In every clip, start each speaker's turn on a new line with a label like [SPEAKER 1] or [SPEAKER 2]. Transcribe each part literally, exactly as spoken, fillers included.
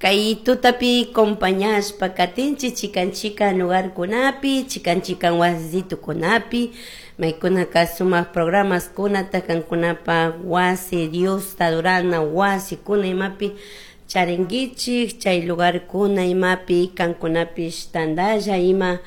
[SPEAKER 1] Kay tutapi compañashpa katinchik chikan chikan lugarkunapi, chikan chikan wasitukunapi, maykunaka sumak programaskunata kankunapa wasi Diosta adorana wasikuna imapi charinkichik chay lugarkuna imapi kankunapish tantalla ima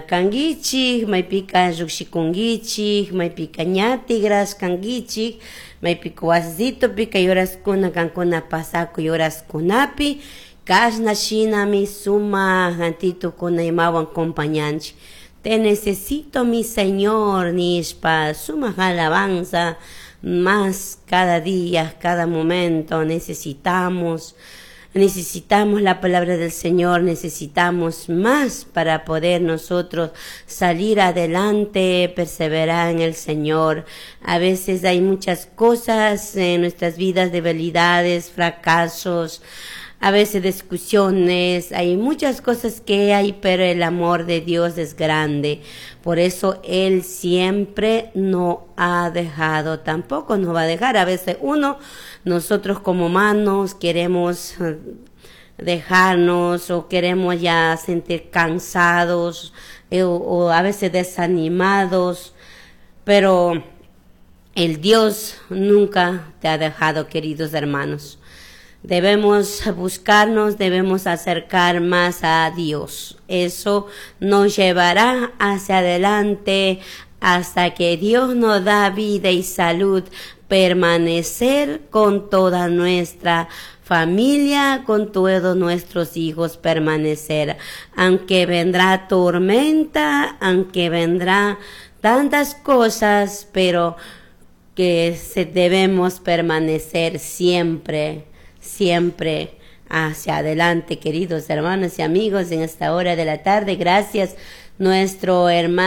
[SPEAKER 1] kankichik maypika llukshikunkichik maypika ña tigrashkankichik maypika wasitupika kay horaskuna kankuna pasakuy horaskunapi kashna shinami sumak antitukuna imawan compañanchik. Te necesito, mi Señor, nishpa sumak alabanza más cada día, cada momento necesitamos necesitamos la palabra del Señor, necesitamos más para poder nosotros salir adelante, perseverar en el Señor. A veces hay muchas cosas en nuestras vidas, debilidades, fracasos, a veces discusiones, hay muchas cosas que hay, pero el amor de Dios es grande. Por eso Él siempre no ha dejado, tampoco nos va a dejar. A veces uno, nosotros como humanos queremos eh, dejarnos o queremos ya sentir cansados eh, o, o a veces desanimados, pero el Dios nunca te ha dejado, queridos hermanos. Debemos buscarnos, debemos acercar más a Dios. Eso nos llevará hacia adelante hasta que Dios nos da vida y salud, permanecer con toda nuestra familia, con todos nuestros hijos, permanecer. Aunque vendrá tormenta, aunque vendrá tantas cosas, pero que se debemos permanecer siempre siempre hacia adelante, queridos hermanos y amigos, en esta hora de la tarde. Gracias, nuestro hermano.